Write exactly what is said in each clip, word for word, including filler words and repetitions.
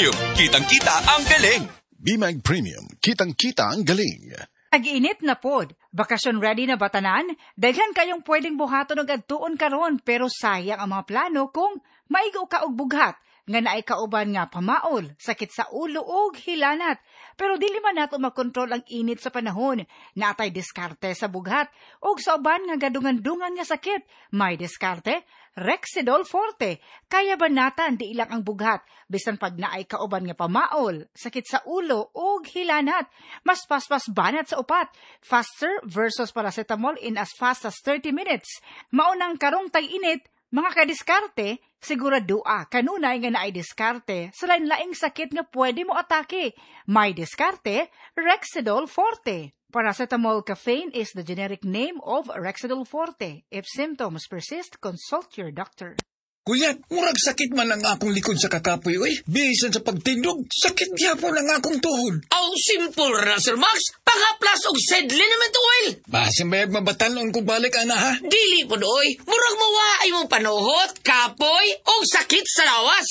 Premium. Kitang-kita ang galing. B-Mag Premium. Kitang-kita ang galing. Tag-init na pod. Bakasyon ready na ba tanan? Daghan kayong pwedeng buhaton og adtuon karon, pero sayang ang mga plano kung maigo ka og bughat nga naay kauban nga pamaol, sakit sa ulo ug hilanat. Pero dili man nato makontrol ang init sa panahon. Naa tay diskarte sa bughat ug sa uban nga gadungan-dungan nga sakit. May diskarte, Rexidol Forte. Kaya banatan di ilang ang bughat bisan pag naay kauban nga pamaol, sakit sa ulo ug hilanat. Mas paspas banat sa upat. Faster versus paracetamol in as fast as thirty minutes. Maunang karong tag-init, mga kadiskarte, siguradoa kanunay nga naay diskarte sa lain-laing sakit nga pwede mo atake. May diskarte, Rexidol Forte. Paracetamol caffeine is the generic name of Rexidol Forte. If symptoms persist, consult your doctor. Kuya, murag sakit man ang akong likod sa kakapoy, oy. Bisan sa pagtindog, sakit gyapon ang akong tuhod. Aw, simple ra, Sir Max. Panghaplas og Zed Liniment Oil. Basin bayag mabatanon ko balik, ana, ha? Dili po oy. Murag mawa ay mong panuhot, kapoy, o sakit sa lawas.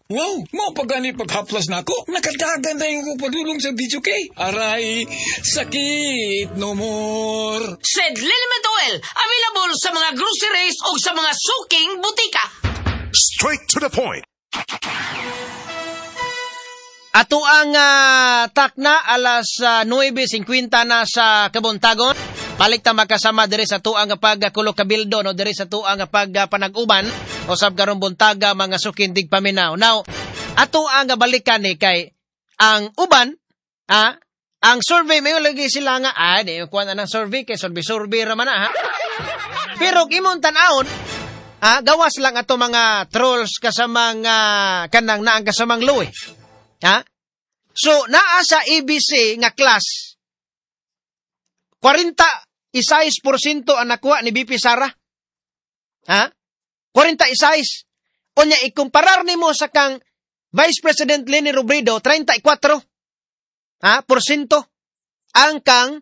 Wow, mao pa gani paghaplas nako. Nakadagan na yung padulong sa D J K. Aray, sakit no more. Zed Liniment Oil, available sa mga groceries o sa mga suking butika. Straight to the point. Ato ang uh, takna alas uh, nuwebe singkwenta na sa kabuntagon. Balik ta makasama diri sa tuang pagkulo kabildo, no, diri sa tuang pagpanag-uban usab karong buntaga, mga suking tigpaminaw. Now, ato ang balikan ni kay ang uban, ah, ang survey, may lagi sila nga ah di kuan ang survey kay survey survey ra man na, ha. Pero imong tan-awon, ah, gawas lang ato mga trolls kasamang uh, kanang naang kasamang luwi. Ha? So, naa sa A B C nga class, kwarenta y sais porsyento ang nakuha ni V P Sara. Ha? kwarenta y sais. Unya, ikumparar nimo sa kang Vice President Leni Robredo, treinta y kuwatro ha, porsyento ang kang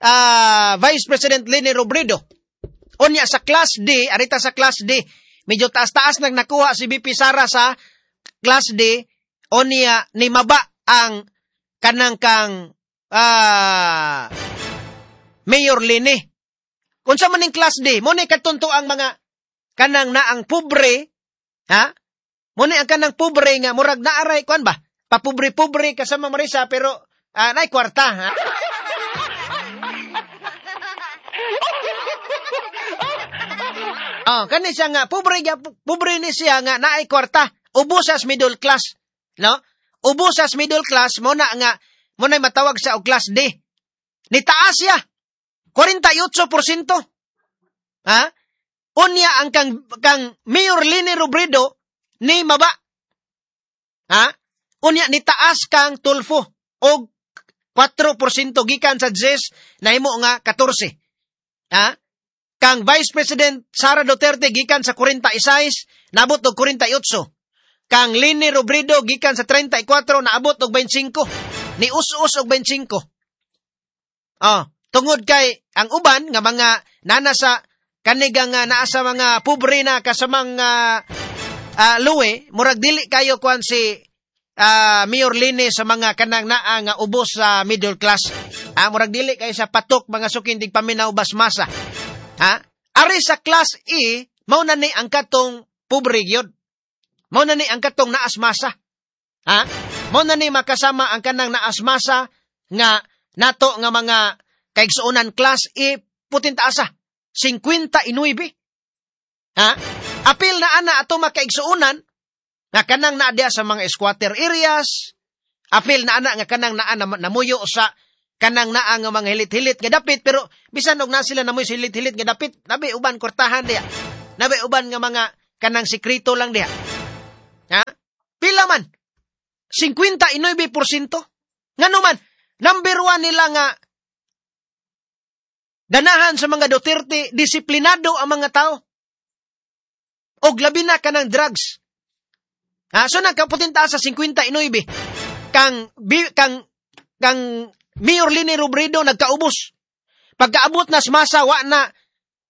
uh, Vice President Leni Robredo. Unya sa class D, arita sa class D, medyo taas-taas nang nakuha si V P Sara sa class D, unya ni maba ang kanang kang uh, Mayor Leni. Kung sa maning class D, mo ni katunto ang mga kanang naang pobre, ha? Mo ni ang kanang pobre nga murag naaray kuan ba? Papobre-pobre kasama Marisa, pero uh, naay kwarta, ha? Oh, kani siya nga pobre pobre ni siya nga naay kwarta, ubos sa middle class, no? Ubos sa middle class mo na nga mo na matawag sa og class D. Ni taas siya. kwarenta y otso porsyento. Ha? Unya ang kang kang Mayor Leni Robredo ni maba. Ha? Unya ni taas kang Tulfo og kuwatro porsyento, gikan sa diyes nahimo nga katorse. Ha? Kang Vice President Sara Duterte gikan sa kwarenta y sais naabot og kwarenta y otso. Kang Leni Robredo gikan sa treinta y kuwatro naabot og beinte y singko. Ni us-us og beinte y singko. Oh, tungod kay ang uban nga mga nana sa kanigang uh, naa sa mga pobre na kasamang uh, uh, luwe, murag dili kayo kuan si uh, Mayor Leni sa mga kanang naa nga ubos sa middle class. Ah, murag dili kayo sa patok, mga suking tigpaminaw, basmasa. Ha? Ari sa class E, mao na ni ang katong pobre gyud. Mao na ni ang katong naasmasa. Ha? Mao na ni makasama ang kanang naasmasa nga nato nga mga kaigsuonan, class E, putin taasa. singkwenta y nuwebe. Ha? Apil na ana ato makaigsuonan nga kanang naa sa mga squatter areas, apil na ana nga kanang naa na, namuyo sa kanang naa nga mga hilit-hilit nga dapit, pero bisan og na sila namuyo sa hilit-hilit nga dapit, nabi uban kwartahan diya. Nabi uban nga mga kanang sekreto lang diha. Ha? Pila man? singkwenta y nuwebe porsyento. Ngano man, number one nila nga ganahan sa mga Duterte, disiplinado ang mga tao. Og labi na kanang drugs. Ha, so nagkaputinta sa singkwenta y nuwebe. Kang bi, kang kang Mayor Leni Robredo nagkaubos. Pagkaabot na sa masa, wa na,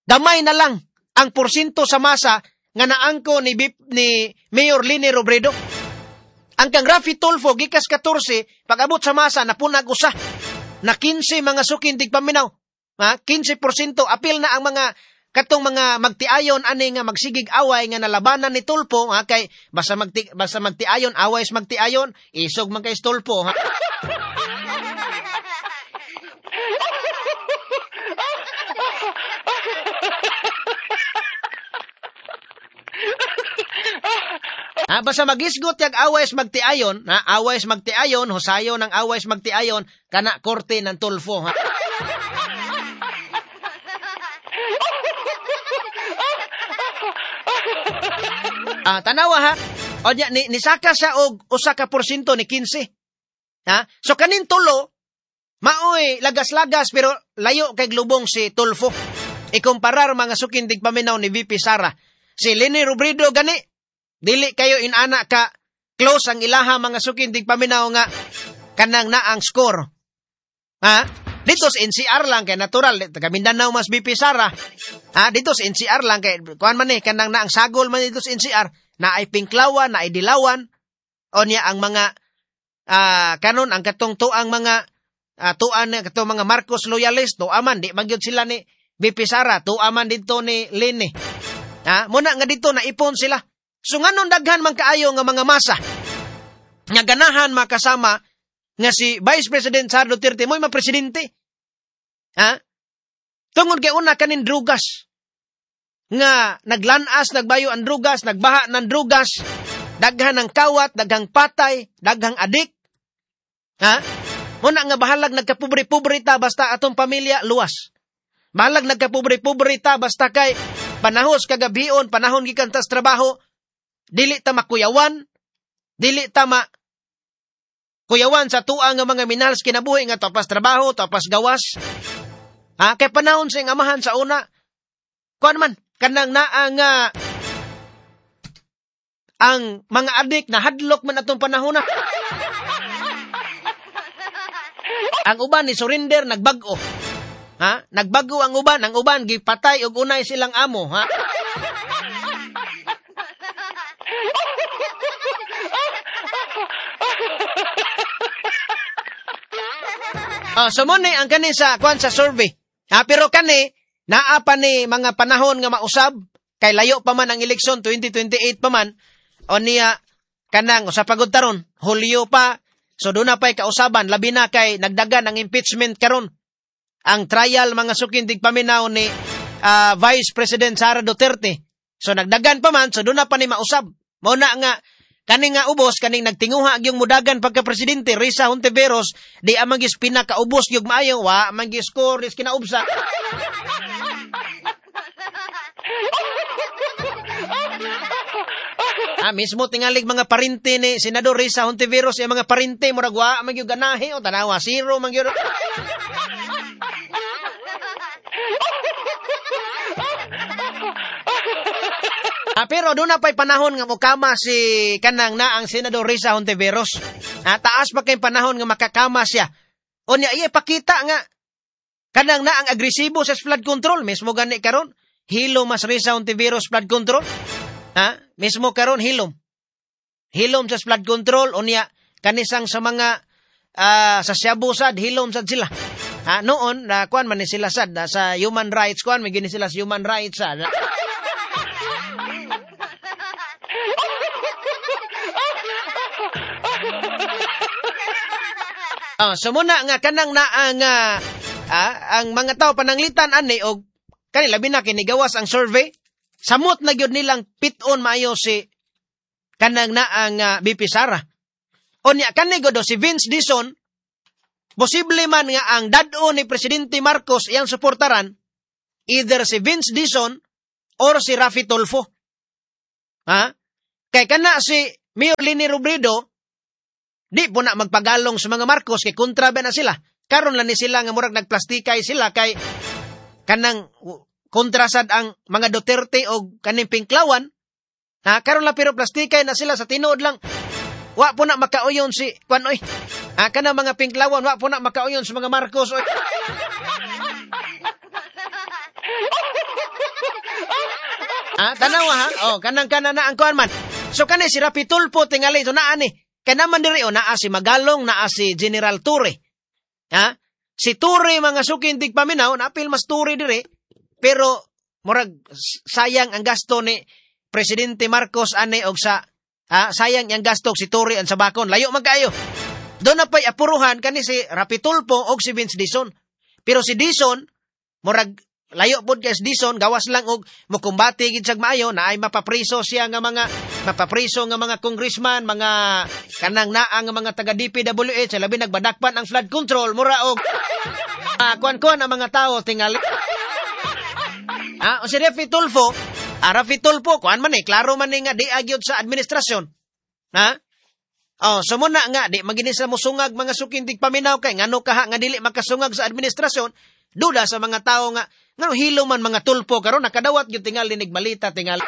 gamay na lang ang porsyento sa masa nga naangko ni, ni Mayor Leni Robredo. Ang kang Raffy Tulfo gikas katorse, pag-abot sa masa napunag usa. Na kinse mga sukin tigpaminaw. Ha? kinse porsyento apil na ang mga katong mga magtiayon ani nga magsigig away nga nalabanan ni Tulfo, ha, kay basta magti, basta magtiayon away is magtiayon, isog man kay Tulfo, ha. Ha, basta magisgot yag away is magtiayon, ha, away is magtiayon, husayo ng away is magtiayon, kana korte ng Tulfo, ha. Ah, tanawa ha. O niya, ni, nisaka siya og usa ka porsyento ni kinse. Ha? So kanin tulo maoy lagas-lagas pero layo kay glubong si Tulfo. Ikumparar mga sukin tigpaminaw ni V P Sara. Si Leni Robredo gani dili kayo inana ka close ang ilaha mga sukin tigpaminaw nga kanang naang score. Ha? Dito sa N C R lang kay natural taga Mindanao mas V P Sara. Ha, dito sa N C R lang kay kuan man ni kanang naang sagol man dito sa N C R, na ay pinklawan, na ay dilawan. O niya ang mga uh, kanon ang katong tuang mga uh, tuan katong mga Marcos loyalist, tuaman di magyud sila ni V P Sara, tuaman dito ni Leni. Ha, muna nga dito naipon sila. So nganon daghan man kaayo nga mga masa nga ganahan makasama nga si Vice President Sara Duterte mo'y mapresidente. Ha? Tungod kay una kanin drugas nga naglanas, nagbayo ang drugas, nagbaha ng drugas, daghan ang kawat, daghang patay, daghang adik. Ha? Muna nga bahalag nagkapobre-pobre ta basta atong pamilya luwas. Bahalag nagkapobre-pobre ta basta kay panahos kagabion, panahon gikan tas trabaho, dili ta makuyawan, dili ta ma kuyawan sa tuang nga mga minahal sa kinabuhi nga tapas trabaho, tapas gawas. Ha, kay panahon sa amahan sa una. Kuan man kanang naa nga ang mga adik na hadlok man atong panahon na. Ang uban ni surrender nagbag-o. Ha? Nagbag-o ang uban, ang uban gipatay og unay silang amo, ha? Oh, so mo ni ang kani sa kuan sa survey. Ha, pero kani naa pa ni mga panahon nga mausab kay layo pa man ang eleksyon twenty twenty-eight pa man. O niya kanang usa pagod taron, Hulyo pa. So doon na pa'y kausaban, labi na kay nagdagan ang impeachment karon. Ang trial mga sukin tigpaminaw ni uh, Vice President Sara Duterte. So nagdagan pa man, so doon na pa ni mausab. Mao na nga kaning nga ubos, kaning nagtinguha gyung mudagan pagka-presidente Risa Hontiveros, di amang gis pinakaubos gyud maayo, wa man gi score is kinaubsa. Ah, mismo tingalig mga parente ni Senador Risa Hontiveros, yung mga parente murag wa man gyud ganahe o tanawa zero man gyud. Ah, pero doon na pa'y panahon nga mukama si kanang na ang Senador Risa Hontiveros. Ah, taas pa kay panahon nga makakama siya. O niya, iya, pakita nga kanang na ang agresibo sa flood control. Mismo gani karon, hilom mas Risa Hontiveros flood control. Ha? Mismo karon hilom. Hilom sa flood control. O niya, kanisang sa mga uh, sa Shabu sad, hilom sad sila. Ha, noon, na kuan man ni sila sad, na, sa human rights, kuan, may gini sila sa human rights sad. Oh, so muna nga kanang naa nga ah, ang mga tao pananglitan ani og kani labi na kinigawas ang survey, samot na gyud nilang pit-on maayo si kanang naa nga B P Sara. Unya kani godo si Vince Dizon, posible man nga ang dad-o ni Presidente Marcos iyang suportaran either si Vince Dizon or si Raffy Tulfo. Ha? Kay kana si Mayor Leni Robredo di po na magpagalong sa mga Marcos kay kontra ba na sila. Karon lang ni sila nga murag nagplastikay sila kay kanang kontrasad ang mga Duterte o kaning Pinklawan. Ha, karon lang pero plastikay na sila sa tinuod lang. Wa po na makauyon si kuan oy. Ha, kanang mga Pinklawan wa po na makauyon sa mga Marcos oy. Ha, tanawa ha. Oh, kanang kana na ang kuan man. So kani si Raffy Tulfo tingali so naa ni. Kay naman diri o naa si Magalong, naa si General Torre. Ha? Si Torre mga suking tigpaminaw, naapil mas Torre diri, pero murag sayang ang gasto ni Presidente Marcos ane og sa ha, sayang ang gasto og si Torre ang sabakon. Layo man kaayo. Doon na pa'y apuruhan kani si Rapi Tulfo og si Vince Dizon. Pero si Dizon, murag layo pod kay si Dizon, gawas lang og mokumbate gid siya maayo na ay mapapriso siya nga mga mapapriso nga mga congressman, mga kanang naa nga mga taga D P W H, labi nagbadakpan ang flood control, mura og uh, kuan-kuan ang mga tao tingali. Ah, o si Rapi Tulfo, ah, Rapi Tulfo, kuan man eh, klaro man eh nga di agyod sa administrasyon. Ha? Oh, so muna nga di maginis sa musungag mga sukintig paminaw kay ngano kaha nga dili makasungag sa administrasyon, duda sa mga tao nga ngano hilo man mga Tulfo karon nakadawat gyud tingali nigmalita tingali.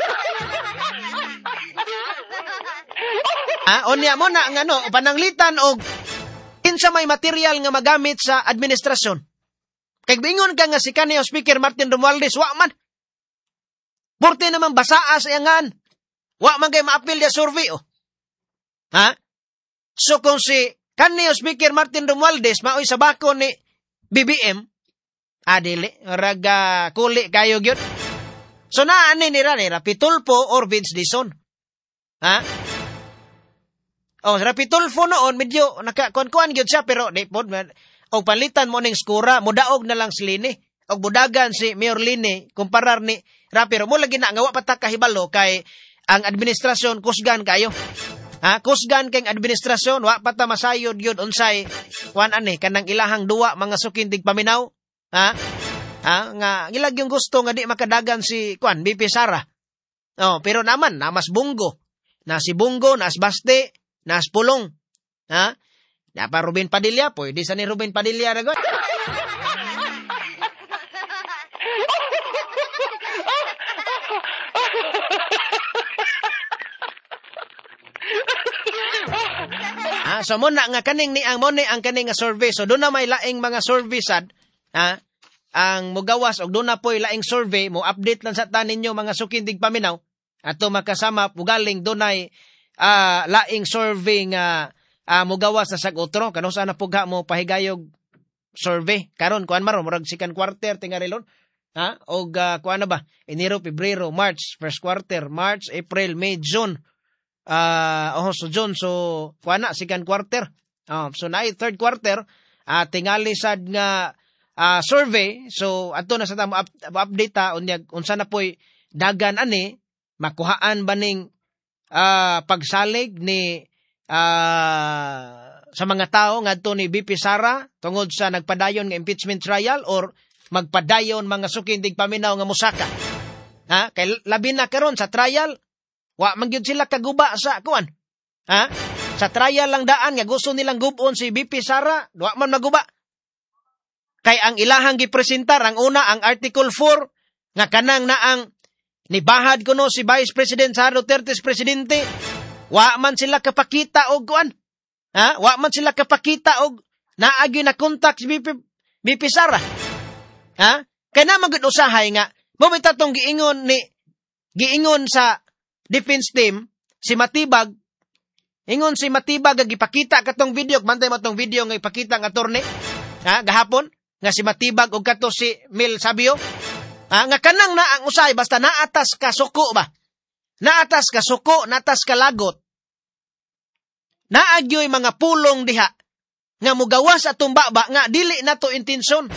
Ah, unya mo na ngano pananglitan og kinsa may material nga magamit sa administrasyon. Kay bingon ka nga si kaniyang Speaker Martin Romualdez wa man. Burti naman basaa sa iyangan. Wa man kay maapil ya survey oh. Ha? So kung si kaniyang Speaker Martin Romualdez maoy sa bako ni B B M, adili, raga kuli kayo gyud. So naani nira ni Rapi Tulfo or Vince Dizon. Ha? Oh, Rapi Tulfo noon medyo nakakuan-kuan gyud siya pero di pod og palitan mo ning skura, mudaog na lang si Lini og budagan si Mayor Lini kumparar ni Rapi. Mo lagi na nga wa pa ta kahibalo kay ang administrasyon kusgan kayo. Ha, kusgan kay administrasyon, wa pa ta masayod gyud unsay kuan ani kanang ilahang duwa mga sukintig paminaw. Ha? Ha, nga ilag yung gusto nga di makadagan si kuan B P Sara. Oh, pero naman namas Bunggo. Na si Bunggo, nas Baste, nas Pulong. Ha? Napa Ruben Padilla, pwede sa ni Ruben Padilla ragon. Ah, so mo na nga kaning ni ang mo ni ang kaning nga survey. So doon na may laing mga survey sad, ha? Ang mugawas og doon na po'y laing survey, mo update lang sa tanin ninyo mga sukindig paminaw. Ato makasama pugaling dunay uh, laing survey nga uh, mugawas na sag otro kano sa na pugha mo pahigayog survey karon kuan maron murag second quarter tingarilon, ha? Og uh, kuan na ba Enero, Pebrero, March, first quarter, March, April, May, June. Uh, oh, so June, so kuan na second quarter. Oh, so naay third quarter, uh, tingali sad nga uh, survey. So adto na sa tamo up, update ta unya unsa na poy dagan ani makuhaan ba ning uh, pagsalig ni uh, sa mga tao ngadto ni B P Sara tungod sa nagpadayon nga impeachment trial or magpadayon mga sukindig paminaw nga musaka. Ha? Kay labi na karon sa trial, wa man gyud sila kaguba sa kuan. Ha? Sa trial lang daan nga gusto nilang gubon si B P Sara, wa man maguba. Kay ang ilahang gipresentar ang una ang Article four nga kanang naang nibahad kuno si Vice President Sara Duterte presidente, wa man sila kapakita og kuan. Ha? Wa man sila kapakita og naagyo na contact si B P, B P Sara. Ha? Kay na magud usahay nga mo bitaw tong giingon ni giingon sa defense team si Matibag, ingon si Matibag nga gipakita katong video, bantay mo tong video nga ipakita ng attorney, ha, gahapon nga si Matibag og kato si Mel Sabio, ha, nga kanang na ang usay basta naatas ka suko ba, naatas ka suko, naatas ka lagot, naagyoy mga pulong diha nga mugawas atong baba nga dili nato intensyon.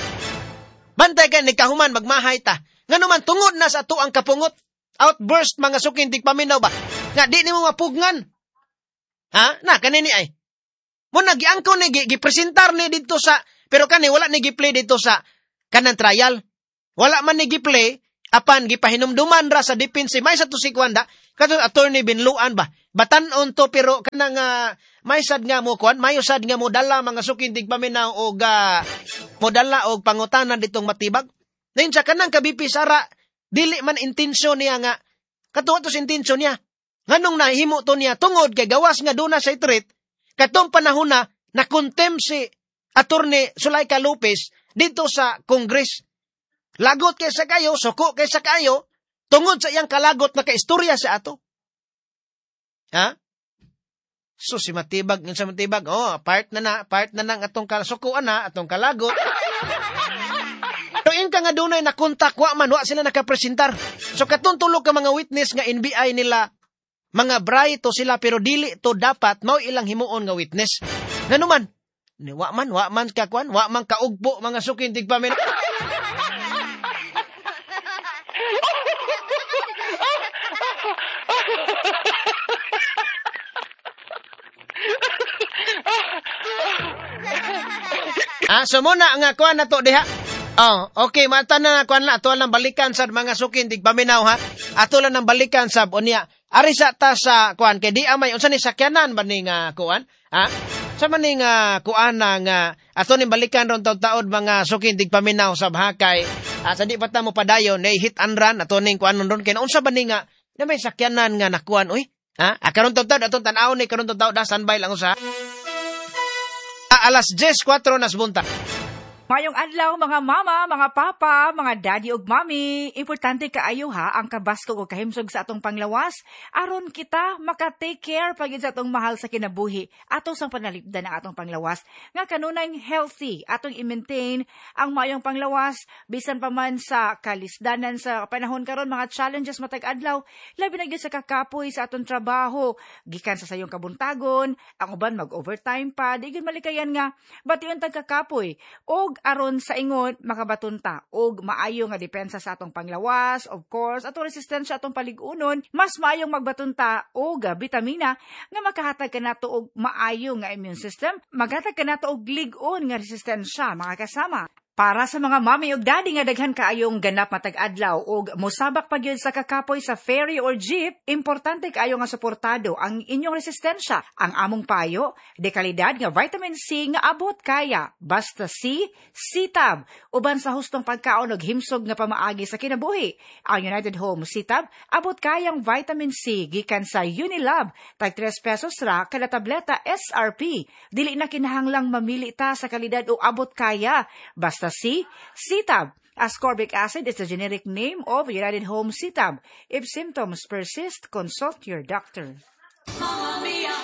Bantay kay nikahuman magmahay ta ngano man tungod na sa ato ang kapungot, outburst mga sukintig paminaw ba nga di nimo mapugnan. Ha, na kanini ay mo nagiangko ni gipresentar ni didto sa, pero kani wala ni giplay didto sa kanang trial, wala man ni giplay apan gipahinumduman ra sa defense may sa tusikwanda kato attorney Binluan ba batan-on to, pero kanang uh, may sad nga mo kuan, mayo sad nga mo dala mga sukintig paminaw og uh, modala og pangutanan ditong Matibag. Ngayon sa kanang ka B P Sara dili man intensyon niya nga katuwa to sa intensyon niya. Nganong nahimo to niya tungod kay gawas nga duna sa threat katong panahon na na-contempt si Attorney Zuleika Lopez dito sa Congress. Lagot kaysa kayo, suko kaysa kayo, tungod sa iyang kalagot na kaistorya sa ato. Ha? So si Matibag, yun sa Matibag, oh, part na na, part na nang atong kasukuan na, atong kalagot. So in ka nga dunay na kontak, wa man, wa sila nakapresentar. So katong tulo ka mga witness nga N B I nila, mga bray to sila, pero dili to dapat, mao ilang himuon nga witness. Nganuman, wa man, wa man kakuan, wa man kaugbo, mga sukin, tigpamin. Ah, so muna nga kuan na to diha. Oh, okay, mata na kuan la ato lang balikan sa mga sukin tigpaminaw ha. Ato lang nang balikan sab unya. Ari sa ta sa kuan kay di amay unsa ni sakyanan ba ni nga kuan? Ha? Sa man ni nga kuan na nga ato ning balikan ron taud-taod mga sukin tigpaminaw sab ha kay ah, sa di pa ta mo padayon nay hit and run ato ning kuan ron kay unsa ba ni nga na may sakyanan nga nakuan oy? Ha? Ah, karon taud-taod atong tan-awon ni karon taud-taod da standby lang usa. Ah, alas diyes kwatro nas bunta. Mayong adlaw mga mama, mga papa, mga daddy ug mommy. Importante kaayo ha ang kabaskog ug kahimsog sa atong panglawas aron kita maka-take care pagid sa atong mahal sa kinabuhi. Ato sang panalipdan ang atong panglawas nga kanunay healthy atong i-maintain ang mayong panglawas bisan pa man sa kalisdanan sa panahon karon mga challenges matag adlaw labi na gyud sa kakapoy sa atong trabaho gikan sa sayong kabuntagon ang uban mag-overtime pa di gyud malikayan nga bation tag kakapoy og aron sa ingon makabatunta og maayo nga depensa sa atong panglawas, of course, atong resistensya atong palig-unon, mas maayong magbatunta og bitamina nga makahatag kanato og maayo nga immune system, maghatag kanato og lig-on nga resistensya mga kasama. Para sa mga mami ug daddy nga daghan kaayong ganap matag adlaw og mosabak pa gyud sa kakapoy sa ferry or jeep, importante kaayo nga suportado ang inyong resistensya. Ang among payo, de kalidad nga vitamin C nga abot kaya. Basta C, C-Tab. Uban sa hustong pagkaon og himsog nga pamaagi sa kinabuhi. Ang United Home C-Tab abot kayang vitamin C gikan sa Unilab, tag tres pesos ra kada tableta S R P. Dili na kinahanglang mamili ta sa kalidad o abot kaya. Basta C, C-Tab. Ascorbic acid is the generic name of United Home C-Tab. If symptoms persist, consult your doctor. Mamma mia,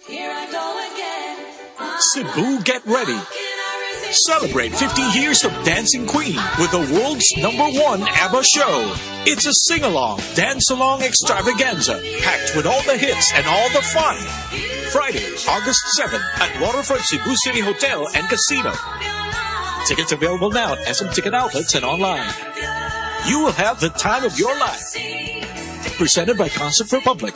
here I go again. Cebu, get ready. Celebrate fifty years of Dancing Queen with the world's number one ABBA show. It's a sing-along, dance-along extravaganza packed with all the hits and all the fun. Friday, August seventh at Waterfront Cebu City Hotel and Casino. Tickets available now at S M Ticket Outlets and online. You will have the time of your life. Presented by Concert Republic.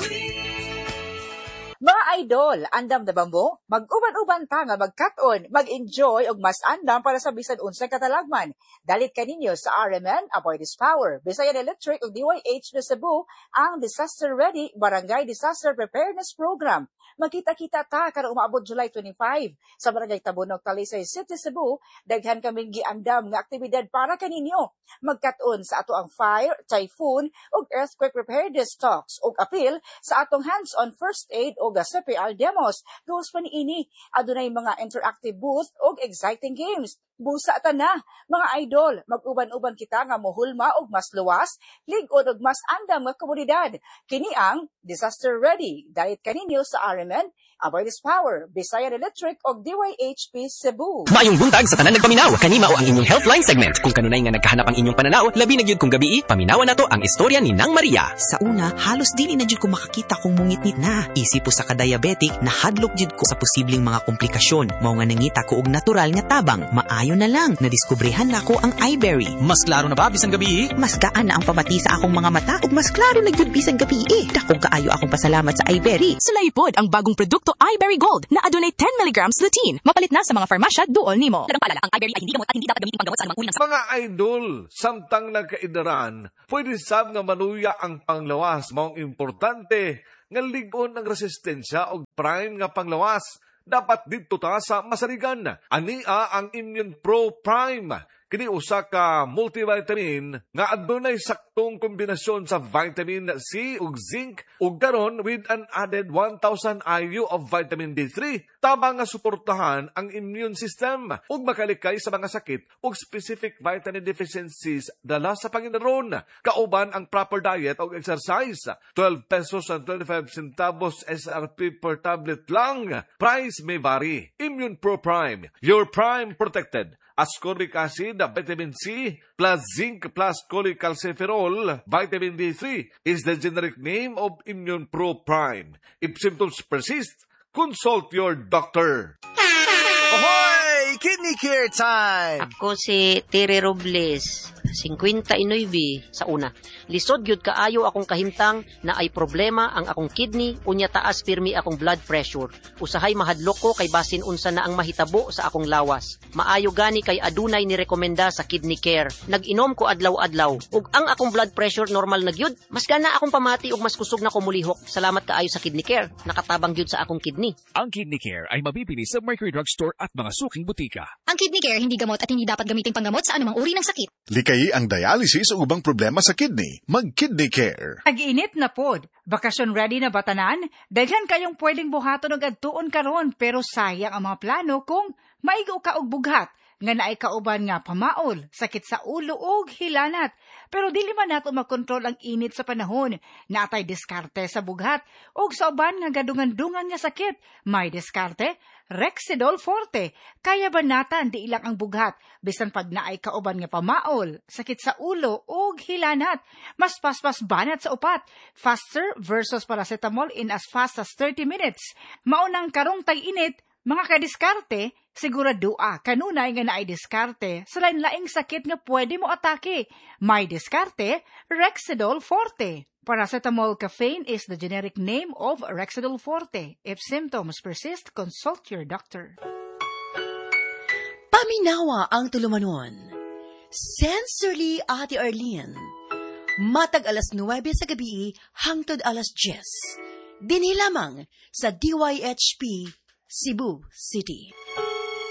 Mga idol, andam na ba mo? Mag-uban-uban ta nga magkat-on, mag-enjoy og mas andam para sa bisan unsay katalagman. Dalit kaninyo sa R M N, Aboitiz Power, Bisayan Electric ug D Y H P Cebu ang Disaster Ready Barangay Disaster Preparedness Program. Magkita-kita ta karong umaabot July twenty-five sa Barangay Tabunok, Talisay City, Cebu. Daghan kaming giandam nga aktibidad para kaninyo. Magkat-on sa ato ang fire, typhoon ug earthquake preparedness talks ug appeal sa atong hands-on first aid ug C P R demos. Gawas pa niini, adunay mga interactive booth ug exciting games. Busa ta na, mga idol, mag-uban-uban kita nga mohulma og mas luwas, lig-on og mas andam nga komunidad. Kini ang Disaster Ready. Dalit kaninyo sa R M N, Aboitiz Power, Bisayan Electric og D Y H P Cebu. Maayong buntag sa tanan nagpaminaw. Kanima o ang inyong healthline segment. Kung kanunay nga nagkahanap ang inyong pananaw, labi na gyud kung gabii, paminawan nato ang istorya ni Nang Maria. Sa una, halos dili na jud ko makakita kung mungitnit na. Isip po sa kadiabetic, nahadlok jud ko sa posibleng mga komplikasyon. Mao nga nangita ko og natural nga tabang. Maayo na lang, nadiskubrehan nako ang iBerry. Mas klaro na ba bisan gabii? Mas gaan na ang pamati sa akong mga mata ug mas klaro na gyud bisan gabii. Dakong kaayo akong pasalamat sa iBerry. Sulaipod ang bagong produkto iBerry Gold na adunay ten milligrams lutein. Mapalit na sa mga farmasya duol nimo. Dalang paalala, ang iBerry ay hindi gamot at hindi dapat gamitin panggamot sa anumang uri ng mga idol, samtang nagkaidaran, pwede sab nga maluya ang panglawas. Maong importante nga lig-on ang resistensya og prime nga panglawas. Dapat didto ta sa masarigan. Ania ang Immune Pro Prime. Kini usa ka multivitamin nga adunay saktong kombinasyon sa vitamin C ug zinc ug karon with an added one thousand I U of vitamin D three, tabang nga suportahan ang immune system ug makalikay sa mga sakit ug specific vitamin deficiencies dala sa pangidaron, kauban ang proper diet ug exercise. twelve pesos and twenty-five centavos S R P per tablet lang. Price may vary. Immune Pro Prime, your prime protected. Ascorbic acid, vitamin C, plus zinc plus cholecalciferol, vitamin D three is the generic name of Immune Pro Prime. If symptoms persist, consult your doctor. Ahoy! Kidney Care time! Ako si Tere Robles, fifty-nine sa una. Lisod gyud kaayo akong kahimtang na ay problema ang akong kidney, unya taas pirmi akong blood pressure. Usahay mahadlok ko kay basin unsa na ang mahitabo sa akong lawas. Maayo gani kay adunay ni rekomenda sa Kidney Care. Nag-inom ko adlaw-adlaw ug ang akong blood pressure normal na gyud. Mas gana akong pamati ug mas kusog na ko mulihok. Salamat kaayo sa Kidney Care. Nakatabang gyud sa akong kidney. Ang Kidney Care ay mabibili sa Mercury Drug Store at mga suking butika. Ang Kidney Care hindi gamot at hindi dapat gamiting panggamot sa anumang uri ng sakit. Likayi ang dialysis o ubang problema sa kidney. Mag-Kidney Care. Tag-init na pod. Bakasyon ready na ba tanan? Daghan kayong pwedeng buhaton og adtuon karon, pero sayang ang mga plano kung maigo ka og bughat nga naay kauban nga pamaol, sakit sa ulo ug hilanat. Pero dili man nato makontrol ang init sa panahon. Natay diskarte sa bughat ug sa uban nga gadungan-dungan nga sakit. May diskarte, Rexidol Forte. Kaya banatan di ilang ang bughat bisan pag naay kauban nga pamaol, sakit sa ulo ug hilanat. Mas paspas banat sa upat. Faster versus paracetamol in as fast as thirty minutes. Maunang karong tag-init, mga kadiskarte, siguradoa kanunay nga naay diskarte sa lain-laing sakit nga pwede mo atake. May diskarte, Rexidol Forte. Paracetamol caffeine is the generic name of Rexidol Forte. If symptoms persist, consult your doctor. Paminawa ang tulumanon. Sincerely, Ate Arlene. Matag alas nuwebe sa gabi hangtod alas diyes. Dinhi lamang sa D Y H P, Cebu City.